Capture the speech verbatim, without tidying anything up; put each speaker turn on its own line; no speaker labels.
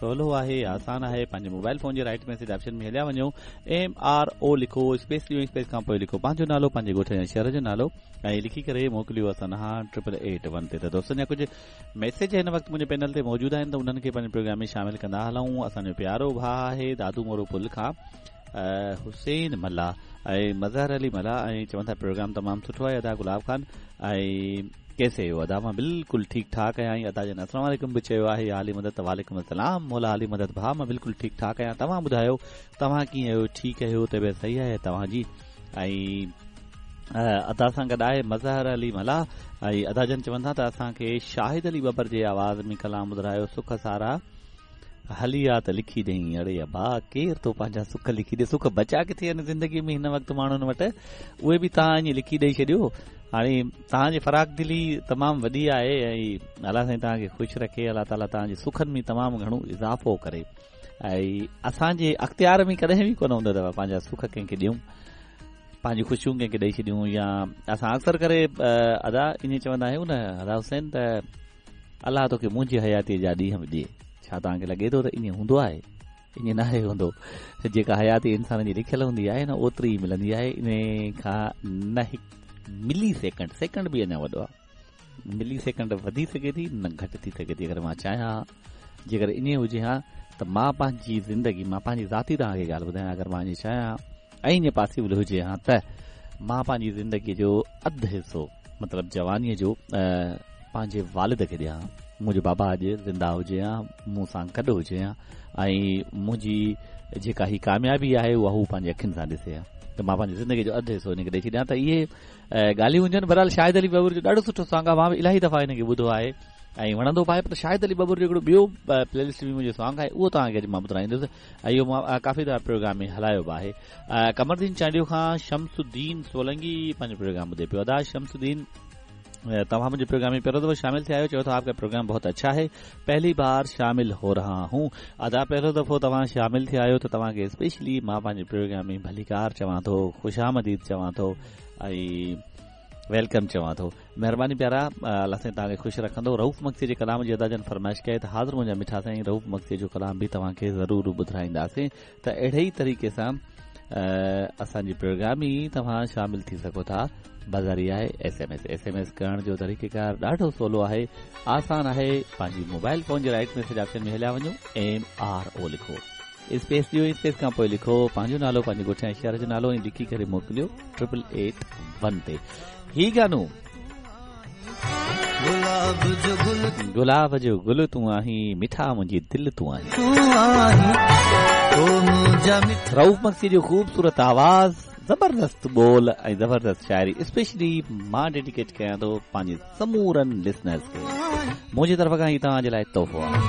سولو آهي، آسان آهي. پنهنجي موبائل فون جي رائيٽ ميسيج آپشن ۾ هليا وڃو، ايم آر او لکو، اسپيس ڏيو، اسپيس کان پوءِ لکو پنهنجو نالو، پنهنجي ڳوٺ يا شهر جو نالو ۽ لکي ڪري موڪليو اسان ڏانهن ٽرپل ايٽ ون تي. ته دوستن جا ڪجهه ميسيج هن وقت منهنجي پينل تي موجود آهن ته انهن کي پنهنجي پروگرام ۾ شامل ڪندا هلون. اسان جو پيارو ڀاءُ آهي دادو مورو پل کان حسين ملاح ۽ مظهر علي ملاح ۽ چون ٿا پروگرام تمام سٺو آهي ادا گلاب خان ۽ ڪيسي هو ادا؟ مان بلڪل ٺيڪ ٺاڪ آهيان. ادا جن السلام عليڪم به چيو آهي. يا علي مدد. وعليڪم السلام مولا علي مدد ڀاءُ، مان بلڪل ٺيڪ ٺاڪ آهيان. توهان ٻڌايو توهان ڪيئن آهيو؟ ٺيڪ آهيو؟ طبيعت صحيح آهي توهان جي؟ ۽ ادا سان گڏ آهي مظهر علي ملاح ۽ ادا جن چون ٿا ته اسان کي شاهد علي ٻٻر جي آواز ۾ ڪلام ٻڌايو، سک سارا هلي آ ته لکي ڏيئي. اڙي ابا، ڪير ٿو پنهنجا سک لکي ڏي؟ سک بچا ڪٿي آهن زندگي ۾ هن وقت ماڻهن وٽ؟ اهي به توهان ائين لکي ڏيئي ڇڏيو. هاڻي توهان جي فراخ دلي تمام وڏي آهي ۽ الله سائين توهان کي خوش رکي، الله تعاليٰ توهان جي سکن ۾ تمام گهڻو اضافو ڪري. ۽ اسان جي اختيار ۾ ڪڏهن به ڪونه هوندو اٿو پنهنجا سک ڪنهن کي ڏيون، پنهنجي خوشيون ڪنهن کي ڏيئي ڇڏيون. يا اسان اڪثر ڪري ادا ائين چوندا آهيون نه ادا حسين ته الله توکي منهنجي حياتيءَ جا ڏينهن به ڏئي. ڇا توهان کي لڳي ٿو ته ائين هوندو آهي؟ ائين ناهي هوندو. جيڪا حياتي انسان جي لکيل هوندي آهي نه اوتري ئي ملندي آهي. ان کان نه هڪ ملي سيڪنڊ، سيڪنڊ به اڃا وڏو آهي، ملي سيڪنڊ وڌي سگهي ٿي نه گهٽ ٿي سگهي ٿي. اگر مان چاهيان، جيڪر ائين هجي ها ته مان پنهنجي زندگي، مان پنهنجي ذاتي توهان کي ڳالهه ٻڌايان، اگر مان ائين چاهيان ۽ ائين پاسيبل هجي ها ته مان پنهنجي زندگيءَ جو اڌ حصو، مطلب جوانيءَ جو، پنهنجي والد کي ڏيان. منهنجو بابا اڄ زنده هجي ها، مون سان گڏ هجي ها ۽ منهنجي جيڪا هي ڪاميابي آهي اها هو پنهنجي اکين سان ڏسي ها ته مان پنهنجي زندگيءَ جو اڌ حصو هن کي ڏيئي ڇڏيان. ته اهي ڳالهيون هجن. بهرحال شاهد علي ٻٻر جو ڏاڍو سٺو سانگ آهي، مان به الاهي دفعا هن کي ٻڌو آهي ۽ وڻندو به آهي. پر شاهد علي ٻٻر جو هڪڙو ٻيو پلي لسٽ ۾ منهنجو سانگ آهي، اهو توهان کي اڄ مان ٻڌائيندس ۽ اهو مان ڪافي دفعا پروگرام ۾ هلايو به آهي. قمردين چانڊيو کان شمسدين سولنگي پنهنجو پروگرام ٻڌي پيو. ادا شمسدين، توهان منهنجي پروگرام ۾ پهريون دفعو شامل ٿيا آهيو. چئو ٿا آپ ڪا پروگرام بهت اڇا هي، پهلي بار شامل هو رها هون. ادا پهريون دفعو توهان شامل ٿيا آهيو ته توهان کي اسپيشلي مان پنهنجي پروگرام ۾ ڀليڪار چوان ٿو، خوش آمديد چوان ٿو ۽ welcome چوان ٿو. مهرباني پيارا، الله سائين توهان کي خوش رکندو. رئوف مگسي جي ڪلام جي ادا جن فرمائش ڪئي ته حاضر منهنجا مٺا سائين، رئوف مگسي جو ڪلام به توهان کي ضرور ٻڌائينداسين. ته اهڙي ئي طريقي سان اسان جي پروگرام ۾ توهان شامل ٿي سگهو ٿا. بازاري آهي S M S. S M S ڪرڻ جو طريقيڪار ڏاڍو سولو آهي، آسان آهي. پنهنجي موبائل فون جي رائيٽ ميسيج آپشن ۾ هليا وڃو، ايم آر او لکو، اسپيس ڏيو، اسپيس کان پوءِ لکو پنهنجو نالو، پنهنجي ڳوٺ ۽ شهر جو نالو ۽ لکي ڪري موڪليو ٽرپل ايٽ ون تي. هي گانو
گلاب جو گل،
گلاب جو گل تون آهين، مٺا منهنجي دل تون آهين.
تون آهين، او منهنجا مٺا.
رئوف مگسي جو خوبصورت آواز، زبردست ٻول ۽ زبردست شاعري اسپيشلي مان ڊيڊيڪيٽ ڪيان ٿو پنهنجي سمورن لسنرز کي. منهنجي طرف کان هي توهان جي لاءِ تحفو آهي.